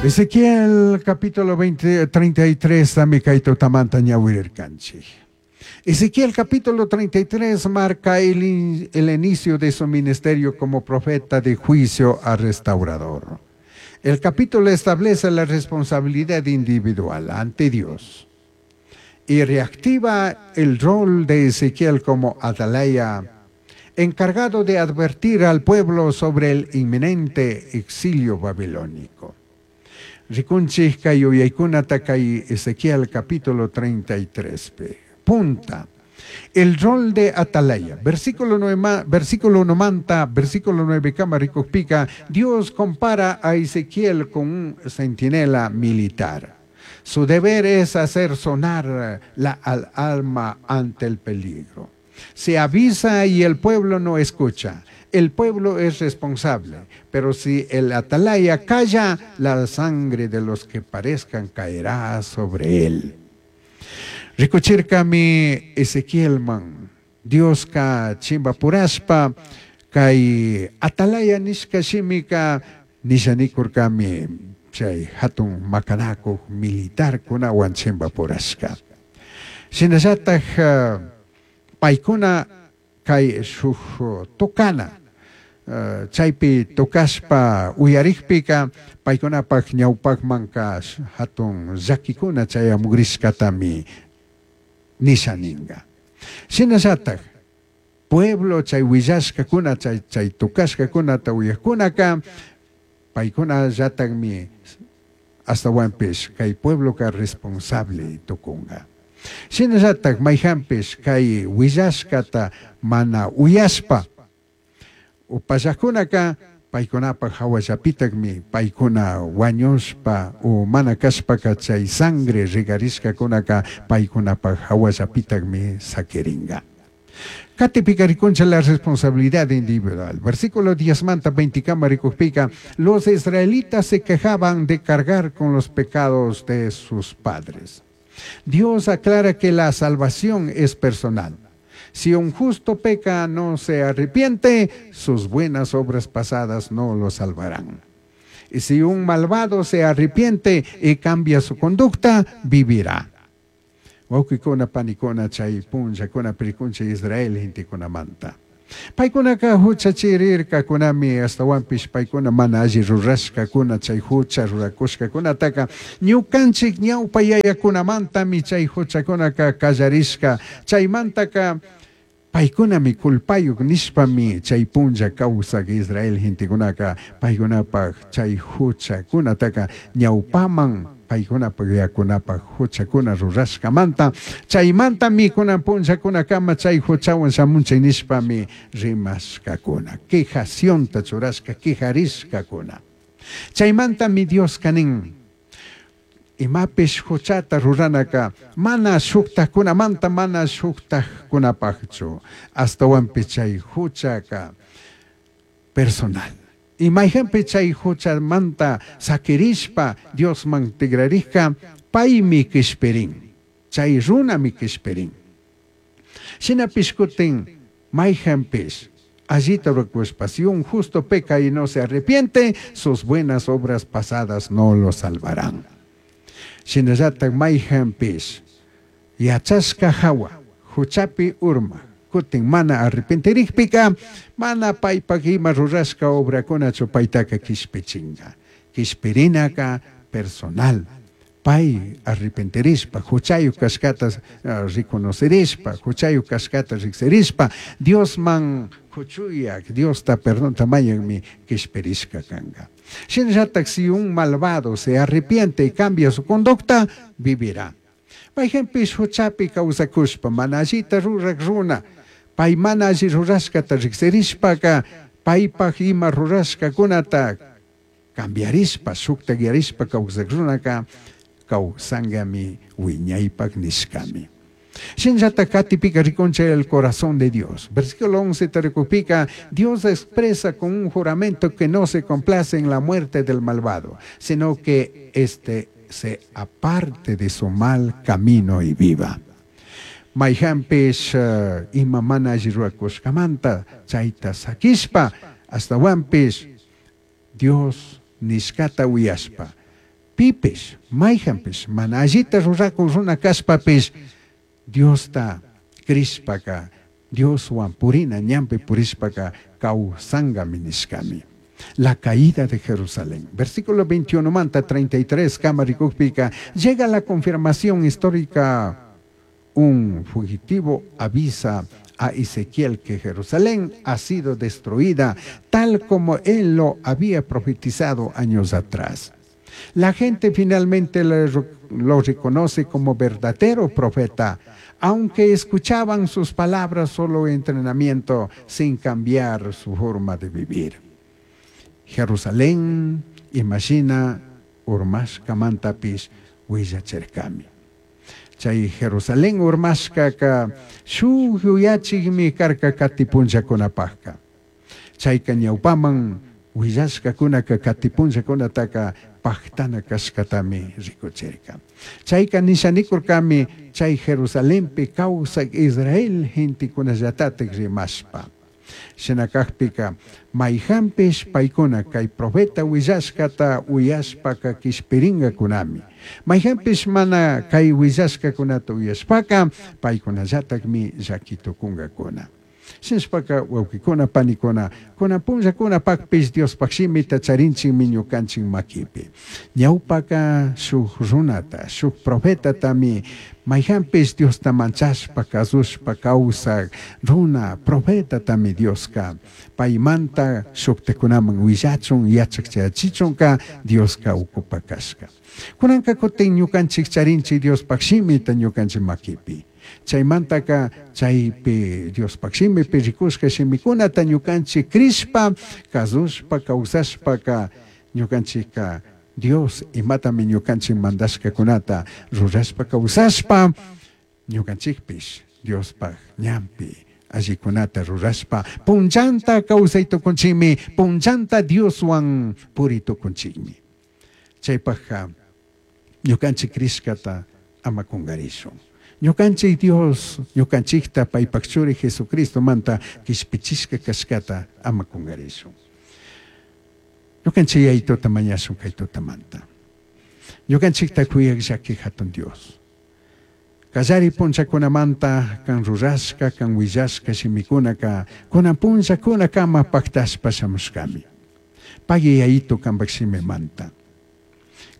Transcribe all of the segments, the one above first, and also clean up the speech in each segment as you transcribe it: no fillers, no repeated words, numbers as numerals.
Ezequiel capítulo 20, 33 tami kay tutamanta ñawirirkanchik. Ezequiel capítulo 33 marca el inicio de su ministerio como profeta de juicio a restaurador. El capítulo establece la responsabilidad individual ante Dios y reactiva el rol de Ezequiel como atalaya, encargado de advertir al pueblo sobre el inminente exilio babilónico. Rikunchik kay yuyaykunata kay Ezequiel capítulo 33 pi. Punta. El rol de atalaya. Versículo 9, versículo 1 manta, versículo 9 kama rikukpika, Dios compara a Ezequiel con un centinela militar. Su deber es hacer sonar la alarma ante el peligro. Se avisa y el pueblo no escucha. El pueblo es responsable, pero si el atalaya calla, la sangre de los que parezcan caerá sobre él. Rikuchirkami Ezequielman, Dioska chimbapurashpa, kay atalaya nishka shimika nishanikurkami chay hatun makanakuq militarkunawan chimbapurashka. Shinallataj paykuna kay shuk tocana, chaypi tocashpa uyarikpika paykunapaq ñawpaqmanka hatun llakikuna chayamugrishkatami nishaninga. Shinallataj pueblo chay willashkakuna chay tocashkakunata uyajkunaka paykuna llatakmi astawanpish kay puebloka responsable tukunga. Shinallataj mayjanpish kay willashkata mana uyashpa upallajkunaka paykunapaq hawallapitakmi paykuna wañushpa o mana kashpaka chay sangre regarishkakunaka paykunapaq hawallapitakmi saquiringa. Katipika rikuncha la responsabilidad individual. Versículo 10 manta 20 kama rikukpika, los israelitas se quejaban de cargar con los pecados de sus padres. Dios aclara que la salvación es personal. Si un justo peca, no se arrepiente, sus buenas obras pasadas no lo salvarán. Y si un malvado se arrepiente y cambia su conducta, vivirá. Wawqikuna panikuna chay punllakuna pirikuncha Israel gentekunamanta. Paykunaka huchachirirkakunami astawanpish paykuna mana alli rurashkakuna chay hucha rurakushkakunataka ñukanchik ñawpa yayakunamantami chay huchakunaka kallarishka chaymantaka paykunami culpayuq nishpami chay punlla kawsaq Israel gentekunaka paykunapaq chay huchakunataka ñawpaman paykunapaq yakunapaq huchakuna rurashkamanta chaymantami kunan punllakunakama chay huchawan shamunchay nishpami rimashkakuna quejacionta churashka quejarishkakuna chaymantami Dioska nin imapish huchata ruranaka mana shuktajkunamanta mana shuktajkunapaqchu astawanpish chay huchaka personal. Y mayqanpi chay huchamanta sakirishpa Diosman tigrarishka paymi qishpirin chay runami qishpirin. Shinapish kutin mayqanpish allita rurakushpa si un justo peca y no se arrepiente, sus buenas obras pasadas no lo salvarán. Shinallataj mayqanpish yachashka hawa huchapi urma kutin mana arrepentirikpika mana paypaq ima rurashka obrakunachu paytaka qishpichinga. Qishpirinaka personal. Pay arrepentirishpa huchayuq kashkata reconocerishpa huchayuq kashkata riqsirishpa Diosman huchuyak Diosta perdonta mañanmi qishpirishka kanqa. Shinallataj si un malvado se arrepiente y cambia su conducta, vivirá. Mayqanpish huchapi kawsakushpa mana allita ruraq runa pay mana alli rurashkata riqsirishpaka paypaq ima rurashkakunata cambiarishpa shuktakyarishpa kawsaq runaka kawsankami wiñaypaq nishkami. Shinllata katipika rikuncha el corazón de Dios. Versículo 11 te rikupika, Dios expresa con un juramento que no se complace en la muerte del malvado, sino que éste se aparte de su mal camino y viva. Mayqanpish ima mana alli rurakushkamanta chayta sakishpa astawanpish Dios nishkata uyashpa Pipish, mayhanpish, mana allita rurakuq runa kashpapish, Diosta crishpaca, Dioswan purina ñanpi purishpaca kawsankami nishkami. La caída de Jerusalén. Versículo 21 manta 33 kama rikukpika, llega la confirmación histórica. Un fugitivo avisa a Ezequiel que Jerusalén ha sido destruida tal como él lo había profetizado años atrás. La gente finalmente lo reconoce como verdadero profeta, aunque escuchaban sus palabras solo entrenamiento sin cambiar su forma de vivir. Jerusalén, imagina, urmashkamantapish willachirkami. Chay Jerusalén urmashkaka shuk yuyachikmi karka kati punllakunapakka. Chayka ñawpaman willashkakunaka kati punllakunataka paktana kashkatami rikuchirka. Chayka nishanikurkami chay Jerusalenpi kawsak Israel gentekunallatatik rimashpa. Shina kakpika mayhanpish paykuna kay profeta willashkata uyashpaka kishpirinkakunami. Mayhanpish mana kay willashkakunata uyashpaka paykunallatakmi llaki tukunkakuna. Shinashpaka wawkikuna panikuna kunan punllakunapakpish Diospaj shimita charinchikmi ñukanchik makipi. Ñawpaka shuk runata, shuk profetatami mayhanpish Diosta manchashpa kasushpa kawsak runa profetatami Dioska paymanta shuktakunaman willachun yachak chayachichunka Dioska ukupa kashka. Kunanka kutin ñukanchik charinchik Diospaj shimita ñukanchik makipi. Chaymantaka chaypi Diospaj shimipi rikushka shimikunata ñukanchik crishpa kasushpa kawsashpaka ñukanchikka Dios imatami ñukanchik mandashkakunata rurashpa kawsashpa ñukanchikpish Diospaj ñanpi allikunata rurashpa punllanta kawsay tukunchikmi, punllanta Dioswan puri tukunchikmi. Chaypajka ñukanchik crishkata ama kunkarishun. Ñukanchik Dios, ñukanchikta paypaj churi Jesucristomanta kishpichishka kashkata ama kunkarishun. Ñukanchik Yayituta mañashun kay tutamanta. Ñukanchikta kuyak llaki hatun Dios. Kallari punllakunamanta kan rurashka, kan willashka shimikunaka kunan punllakunakama paktashpa shamushkami. Pagui Yayito kanpak shimimanta.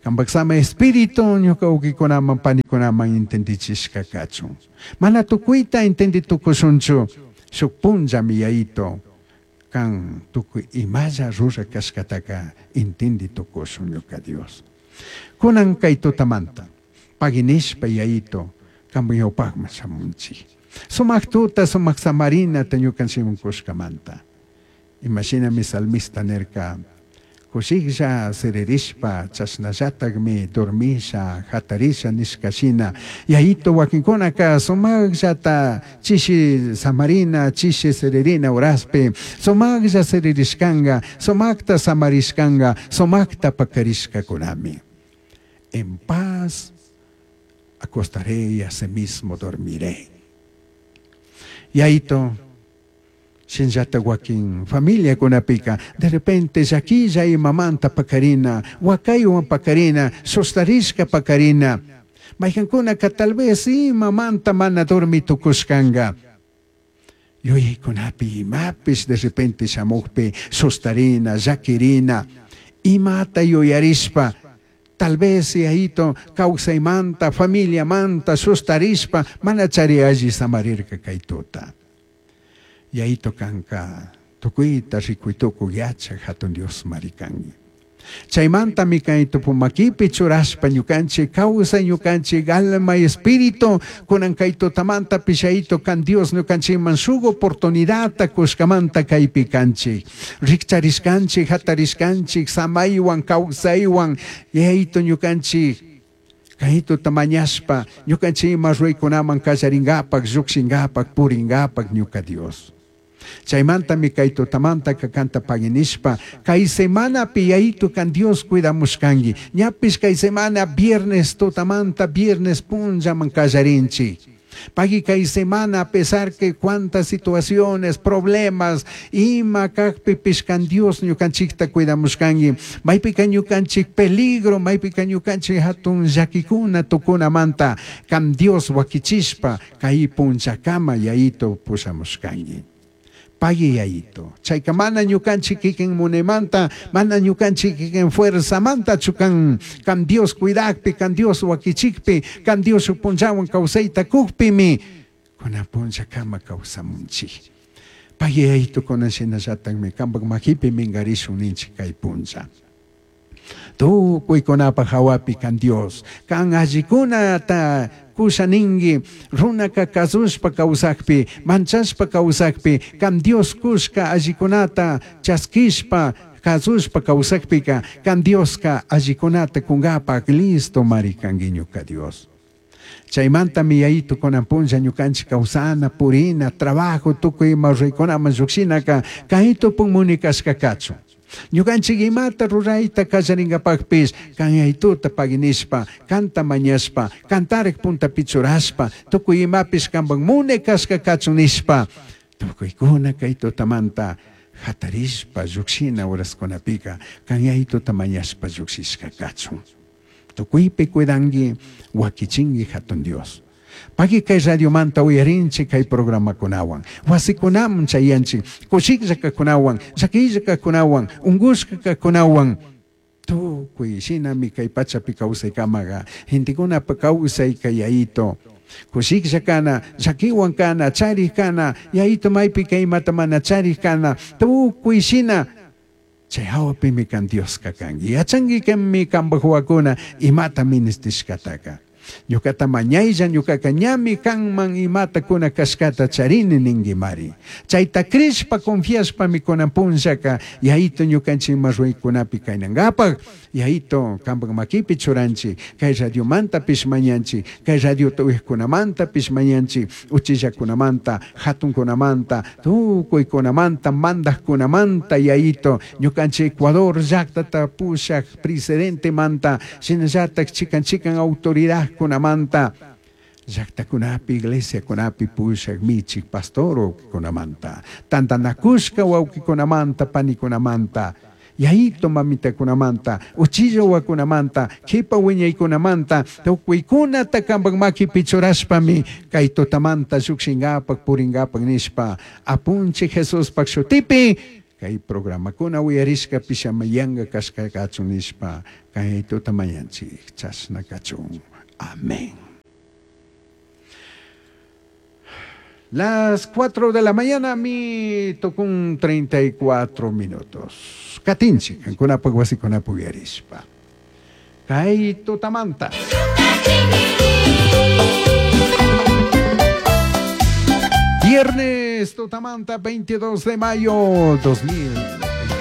Kanpak sama espíritu ñuka wawkikunaman panikunaman entendichishka kachun. Mana tukuyta entendi tukushunchu shuk punllami Yayito kan tukuy imalla rura kashkataka entendi tukushun ñuka Dios. Kunan kay tutamanta pagui nishpa Yayito kanpak ñawpakman shamunchik. Sumak tuta, sumak samarinata ñukanchikman kushkamanta. Imashinami salmista nirka, kushiklla siririshpa chashnallatakmi dormisha, hatarisha nishka shina. Yayito wakinkunaka sumakllata chishi samarina, chishi siririna horaspi, sumaklla siririshkanka, sumakta samarishkanka, sumakta pakarishkakunami. En paz acostaré y asimismo dormiré. Yayito, shinllata wakin familiakunapika, de repente llakilla imamanta pakarina, wakaywan pakarina, sustarishka pakarina. Mayqankunaka tal vez imamanta mana dormi tukushkanka. Yuyaykunapi imapish de repente shamukpi sustarina, llakirina, imata yuyarishpa, tal vez yayito kawsaymanta, familiamanta sustarishpa, mana chari alli samarirka kay tuta. Yayito kanka tukuyta rikuy tukuy yachak hatun Dios marikanki. Chaymantami kay tupumakipi churashpa ñukanchik kawsay ñukanchik alma y espíritu kunan kay tutamanta pishayito kan Dios ñukanchikman shuk oportunidadta kushkamanta kaypi kanchik. Rikcharishkanchik, hatarishkanchik, samaywan, kawsaywan, yayito ñukanchik kay tuta mañashpa ñukanchik ima ruraykunaman kallarinkapak, llukshinkapak, purinkapak ñuka Dios. Chaymantami kay tutamanta kanta paginishpa kay semanapi yayito kan Dios cuidamushkanki. Ñapish kay semana viernes tutamanta viernes punllaman kallarinchik. Pagui kay semana a pesar que cuántas situaciones, problemas, ima kajpipish kan Dios ñukanchikta cuidamushkanki. Maypika ñukanchik peligro, maypika ñukanchik hatun llakikuna tukunamanta kan Dios wakichishpa kay punchakama Yayito pushamushkanki. Pagui Yayito. Chayka mana ñukanchik kikin munaymanta, mana ñukanchik kikin fuerzamantachu kan, kan Dios cuidakpi, kan Dios wakichikpi, kan Dios shuk punllawan kawsayta kukpimi, kunan punllakama kawsamunchik. Pagui Yayito kunan shinallatakmi kanpak makipi minkarishun ninchik kay punlla. Tukuykunapaj hawapi kan Dios, kan allikunata kusha ninki, runaka kasushpa kawsakpi, manchashpa kawsakpi, kan Dios kushka allikunata chaskishpa kasushpa kawsakpika, kan Dioska allikunata kunkapak listo mari kanki ñuka Dios. Chaymantami Yayito kunan punlla ñukanchik kawsana, purina, trabajo, tukuy ima ruraykunaman llukshinaka kay tupun muni kashka kachun. Ñukanchik imata rurayta kallarinkapakpish kan Yayituta paginishpa, kanta mañashpa, kantarik puntapi churashpa, tukuy imapish kanpak muni kashka kachun nishpa, tukuykuna kay tutamanta hatarishpa llukshina horaskunapika kan Yayituta mañashpa llukshishka kachun. Tukuypi cuidanki, wakichinki hatun Dios. Pagui kay radiomanta uyarinchik kay programakunawan, wasikunaman chayanchik, kushiklla kajkunawan, llakilla kajkunawan, unkushka kajkunawan, tukuy shinami kay pachapi kawsaykamaqa, gentekunapa kawsayka Yayito. Kushiklla kana, llakiwan kana, charik kana, Yayito maypika imata mana charik kana, tukuy shina chay hawapimi kan Dioska kanki. Yachankikami kanpak wawakuna imata ministishkataka. Ñukata mañaylla, ñukaka ñami kanman imata kuna kashkata charini ninkimari. Chayta crishpa, confiashpami kunan punllaka Yayito ñukanchik ima ruraykunapi kaynankapak, Yayito kanpak makipi churanchik, kay radiomantapish mañanchik, kay radiota uyajkunamantapish mañanchik, uchillakunamanta, hatunkunamanta, tukuykunamanta, mandajkunamanta, Yayito, ñukanchik Ecuador llaktata pushak presidentemanta, shinallatak chikan chikan autoridadkunamanta, llaktakunapi, iglesiakunapi pushak michik pastor wawkikunamanta, tantanakushka wawkikunamanta, panikunamanta, Yayito mamitakunamanta, uchilla wawakunamanta, kipa wiñaykunamanta, tukuykunata kanpak makipi churashpami kay tutamanta llukshinkapak purinkapak nishpa apunchik Jesuspak shutipi kay programakuna uyarishkapish ama yanka kashka kachun nishpa kay tuta mañanchik, chashna kachun. Amén. Las 4 de la mañana mi tocó un 34 minutos. Katinchi, kankunapak wasikunapi uyarishpa. Kay tutamanta. Viernes tutamanta 22 de mayo 2000.